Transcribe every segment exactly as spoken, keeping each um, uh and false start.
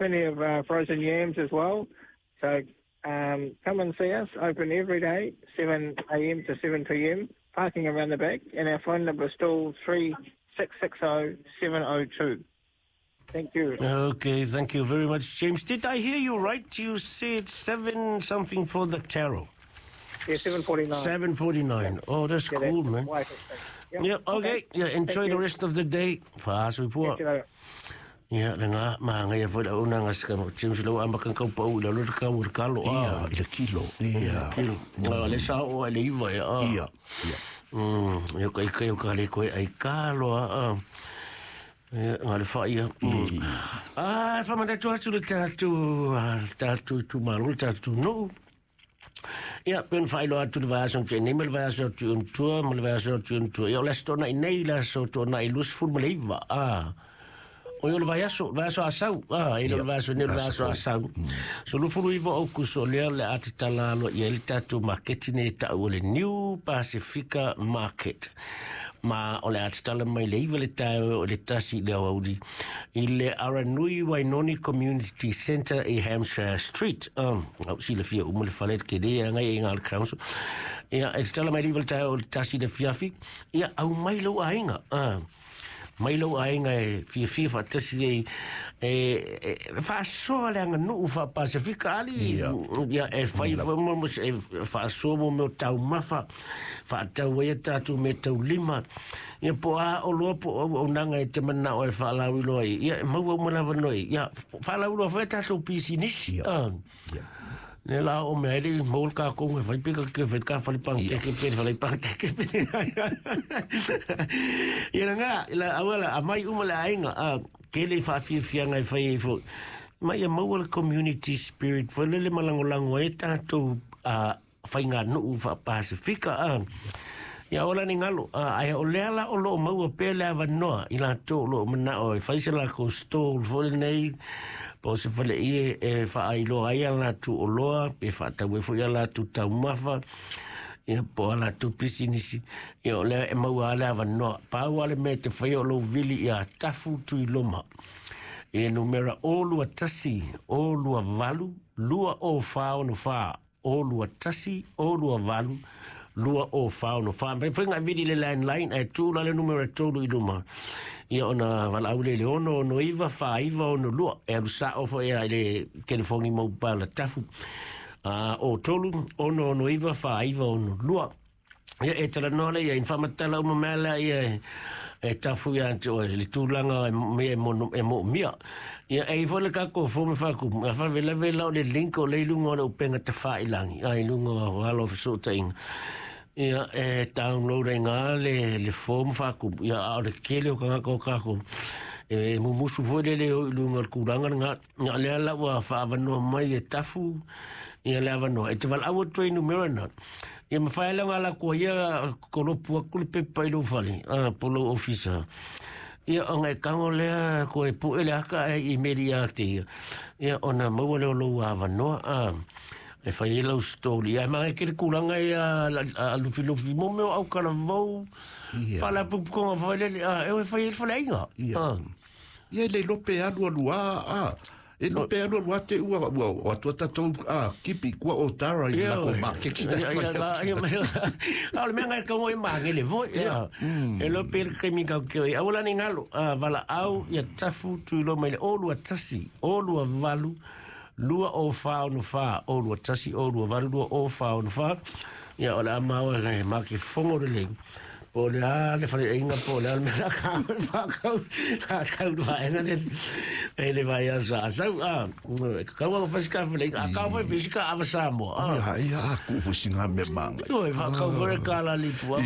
plenty of uh, frozen yams as well. So um, come and see us. Open every day, seven a m to seven p m. Parking around the back, and our phone number is still three six six zero seven zero two. Thank you. Okay, thank you very much, James. Did I hear you right? You said seven something for the taro. Yeah, seven forty-nine. seven forty-nine. Oh, that's Yeah, cool, that's man. why it's expensive. Yep. Yeah, okay. Yeah, enjoy Thank the you. rest of the day. Fa'asoifua. Catch you later. Ia, le ngā mahangai foi la una nga sika mo James lau ama kan kau pau la lo ka ur kalo Ia, a. i le kilo. Ia. Kilo. Ah, le sa o le iva ia. Ah. Ia. Ia. Mm, ia kai kai o ka le koe ai kalo a. Ah. Ia, ngā le wha ia. Mm. Ah, fa mandatu atu le tātou, ah, le tātou itumalo, le tātou nuu. Ia, pen whailo atu le vaiaso te nei, ma le vaiaso atu un tua, ma le vaiaso atu un tua. Ia, o le aso tōna i nei, le aso tōna i lusful ma le iva. Ah. O ia o le vaiaso, le vaiaso asau. Ah, e le vaiaso nei, le vaiaso asau. So lufulu iwa o kuso lea le ate tala aloa ia le tātou maketi nei tau o le New Pacifica Market. Ma o le ate tala mai le iwa le taeo o le tasi le awauli i le Aranui Wainoni Community Centre i Hampshire Street. Um, au si le fia umu le fale ke le ngai e ngā le council. Ia, e te tala mai le iwa le taeo o le tasi le fiafi. Ia, au mai lau ainga. Ah. Mai lau aiga e fiafia faatasi ai e e faasoa le aganuu faapasifika ali. Ia. Ia e fai foi mo mo e faasoa mo mea o taumafa faatau ai a tatou mea taulima. Ia po a o loa po o auaunaga e te manao e faalauiloa ai. Ia e maua uma lava noi. Ia faalauiloa foi a tatou pisinisi. Ia. Ah. Ia. Ne la o mea ele maul ka ko e fai pika ke fai ka fai pang ke ke pe fai pang ke ke pe. Ia nga la awala amai uma le ainga a ke le fa fi fi ngai fai e fo. Mai e maua le community spirit fo le le malangolango e tātou a fai ngā nuu fa Pasifika a. Ia ola ni ngalo, a ai o lea la o loo maua pea le avanoa i la tō lo mana o e fai se la ko stall fo le nei po se fale ie e whaailoa ai a la tu o loa pe whaatau e fo ia la tu taumafa ia po a la tu pisinisi ia o lea e maua a le avanoa pau ale me te whai o lo vili ia tafu tui loma i le numera o lua tasi o lua valu lua o whao no wha o lua tasi o lua valu lua o whao no wha. Mai whainga vidi le landline e tūla le numera tolu i luma. Ia ona wala au le le ono ono iwa wha iwa ono lua. E alu sa ofo ia i le telefongi mau pala tafu. Uh, o tolu ono ono iwa wha iwa ono lua. Ia e tala noa le ia infamatala uma mea ia e tafu ia ante oe le tūlanga e mea e mono e mo mia. Ia e ifo le kako fo me whaku. A wha vela vela o le link o le ilunga o le upenga te wha ilangi. A ilunga o alo whiso tainga. Ia e download ai ngā le, le form whaku. Ia a o le kele o kangaka o kako. E mumusu foi le le o ilunga o le kūranga ngā. Ngā lea la ua whaavanoa mai e tafu. Ia le avanoa. E te wala aua toi numera na. Ia mawhai la ngā la kua ia kolopu aku le pepa i lou fale. Ah, polo officer. Ia o ngai kango lea ko e pu ele aka e i meri a te ia. Ia ona maua leo lou avanoa. Ah, e whai e lau story. Ia mga kere kūranga ia a lufi lufi mo meo au kalavau. Ia. Whala pupukonga whai lele. Ah, e whai e whai ainga. Ia. Ah. Ia le lope alu alu a, a. E lope alu alu a te ua, ua, ua tua tatou, a, kipi, kua o tara i Ia, lako oi. makeki. Ia, ia, ia, ia, ia. A o le mea ngai kaungo i maangele voi, ia. E lope le kaimi kau keo i. Awala ni ngalo, a, wala au, ia tafu tuilo mai le o lua tasi, o lua valu, lua o wha ono wha, o lua tasi, o lua valu, lua o wha ono wha. Ia, o le amaua ngai maki fongo le leng. Po le a le whare inga, po le a le mea ka whakau, ka kau le waenga le, e le vai a sa. Sau, a, kau a whasika whale, a kau whai whisika awa Samoa. A. Ia, ia, a ku fusi ngā me manga. Oi, whakau whare ka la lipu, a,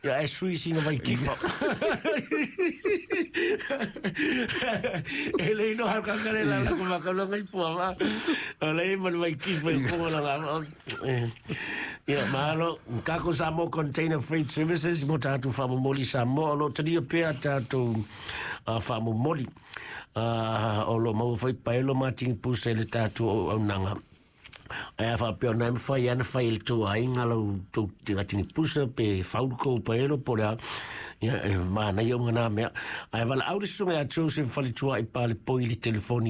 ia, e sui singa vai kifa. E le ino hau kakare la la ko whakau ngai pua, ma. O le i manu vai kifa i kongo la la. Ia, mahalo, kako Samoa Container Freight Services, mo tātou whamomoli Samoa, o lo taria pea tātou uh, whamomoli. Uh, o lo maua whai paelo mā tingi pusa i le tātou o aunanga. Ai a whapea nai mwhai ana whai le tō ainga lau tō tinga tingi pusa pe whauru paelo po lea. Ia, e, mana i o ngā mea. Ai wala aure sunga a Joseph Faletua i pāle poi le telefoni